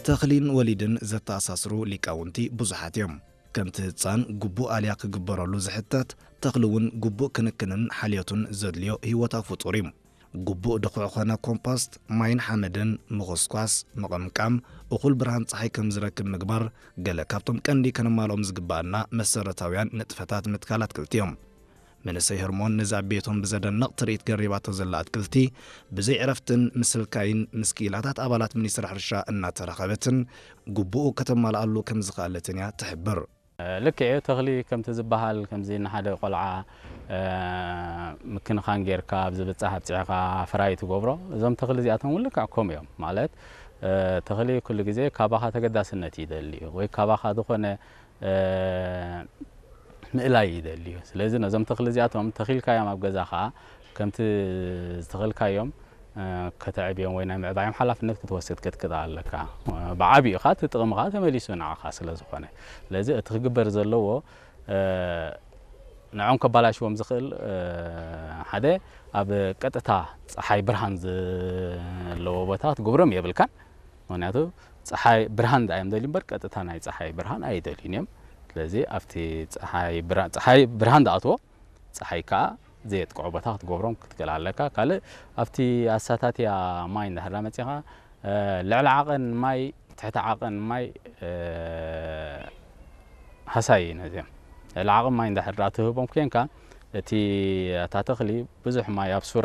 ተኽሊን ወሊድን ዘተኣሳስሩ ሊቃውንቲ ብዙሓት እዮም። ከምቲ ህጻን ግቡእ ኣልያ ክግበረሉ ዝሕተት፣ ተኽሊ እውን ግቡእ ክንክንን ሓልዮቱን ዘድልዮ ህይወታዊ ፍጡር እዩ። ግቡእ ድኹዒ ኾነ ኮምፖስት፣ ማይን ሓመድን ምኹስኳስ፣ ምቕምቃም፣ እኹል ብርሃን ጸሓይ ከም ዝረክብ ምግባር፣ ገለ ካብቶም ቀንዲ ከነማልኦም ዝግብኣና መሰረታውያን ንጥፈታት ምትካል ኣትክልቲ እዮም። መንእሰይ ህርሞን ነዚ ኣብ ቤቶም ብዘደንቕ ትርኢት ገሪባቶ ዘላ ኣትክልቲ፣ ብዘይ ዕረፍትን ምስልካይን ምስ ክኢላታት ኣባላት ሚኒስትሪ ሕርሻ እናተራኸበትን ግቡኡ ከተማልኣሉ ከም ዝኸኣለትን እያ ትሕብር። ልክዕ እዩ፣ ተኽሊ ከምቲ ዝበሃል ከምዚ ንሓደ ቆልዓ፣ እ፣ ምክንኻን ጌርካ ኣብዚ ብጻሕ ኣብጺሕካ ፍራይ ትገብሮ። እዞም ተኽሊ እዚኣቶም እውን ልክዕ ከምኡ እዮም። ማለት፣ እ፣ ተኽሊ ኩሉ ግዜ ካባኻ ተገዳስነት ይደሊ እዩ፣ ወይ ካባኻ ዝኾነ፣ እ፣ ምእላይ ይደሊ እዩ። ስለዚ ነዞም ተኽሊ እዚኣቶም ተኺልካዮም ኣብ ገዛኻ ከምቲ ዝተኸልካዮም፣ እ፣ ከተዕብዮም ወይ ናይ ምዕባዮም ሓላፍነት ክትወስድ ክትክእል ኣለካ። እ፣ ብዓቢኡ ኸኣ እቲ ጥቕሚ ኸኣ ተመሊሱ ንዓኻ ስለ ዝኾነ። ስለዚ እቲ ክግበር ዘለዎ፣ እ፣ ንዖም ከባላሽዎም ዝኽእል፣ እ፣ ሓደ ኣብ ቀጥታ ጸሓይ ብርሃን ዘለዎ ቦታ ክትገብሮም የብልካን። ምኽንያቱ ጸሓይ ብርሃን ደኣ እዮም ደልዩ እምበር ቀጥታ ናይ ጸሓይ ብርሃን ኣይደልዩን እዮም። ስለዚ ኣብቲ ጸሓይ ብራ-፣ ጸሓይ ብርሃን ዝኣትዎ፣ ጸሓይ ከኣ ዘየጥቅዖ ቦታ ክትገብሮም ክትክእል ኣለካ። ካልእ ኣብቲ ኣሳታትያ ማይ እንድሕር መጺኻ፣ እ፣ ልዕሊ ዓቐን ማይ፣ ትሕቲ ዓቐን ማይ፣ እ፣ ሃሳይ እዩ ነዚኦም። ልዕሊ ዓቐን ማይ እንድሕር ደኣ ትህቦም ኮንካ፣ እቲ፣ እታ ተኽሊ ብዙሕ ማይ ኣብ ሱር